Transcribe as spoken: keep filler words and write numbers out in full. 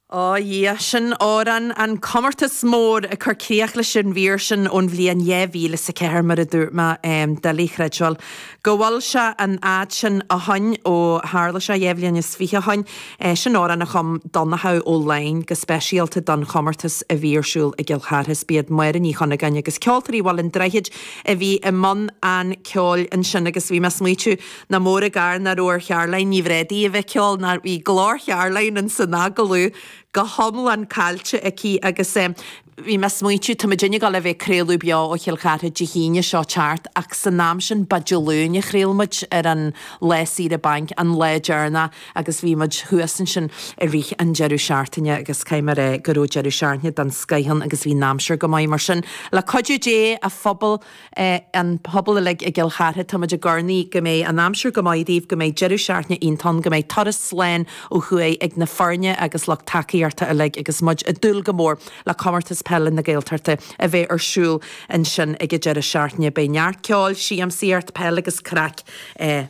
Ó Dhia, sin amhrán an comórtas mór ag cur críoch leis an mhír sin ón bhliain dhá mhíle is a ceathair mar a dúirt mé, doiligh a chreidbheáil go bhfuil sé an fhad sin ó shoin ó tharla sé, dhá bhliain is fiche ó shoin. Sin amhrán a chum Donnchadh Ó Laighin go speisialta don chomórtas a bhí ar siúl i gCill Chartha. Is b'iad Máire Ní Chunagáin agus Ceoltóirí Bhaile an Droichid a bhí i mbun an ceoil ansin agus bhí mé ag smaoitiú nach mór an gar nach raibh ar Charoline Ní Bhréadaí a bheith ag ceol nó bhí glór Charoline in san agallamh go hiomlán caillte aici agus bhí mé ag smaointiú, tá muidinne ag dul a bheith ag craoladh beo ó Chill Chartha Dé hAoine seo teacht ach san am sin ba Dé Luain a chraol muid ar an lá saoire bainc, an lá deireanach agus bhí muid thuas ansin i rith an deireadh seachtaine agus caithfidh mé a rá go raibh deireadh seachtaine den scoith ann agus bhí an aimsir go maith mar sin le cuidiú Dé a phobal an pobal uilig i gCill Chartha tá muid ag urnaí go mbeidh an aimsir go maith daoibh, go mbeidh deireadh seachtaine iontach ann, go mbeidh turas slán ó thuaidh ag na foirne agus lucht tacaíochta uilig agus muid ag dúil go mór le Comórtas Peile na Gaeltachta a bheith ar siúl ansin ag an deireadh seachtaine. Beidh neart ceoil, siamsaíocht, peil agus craic mar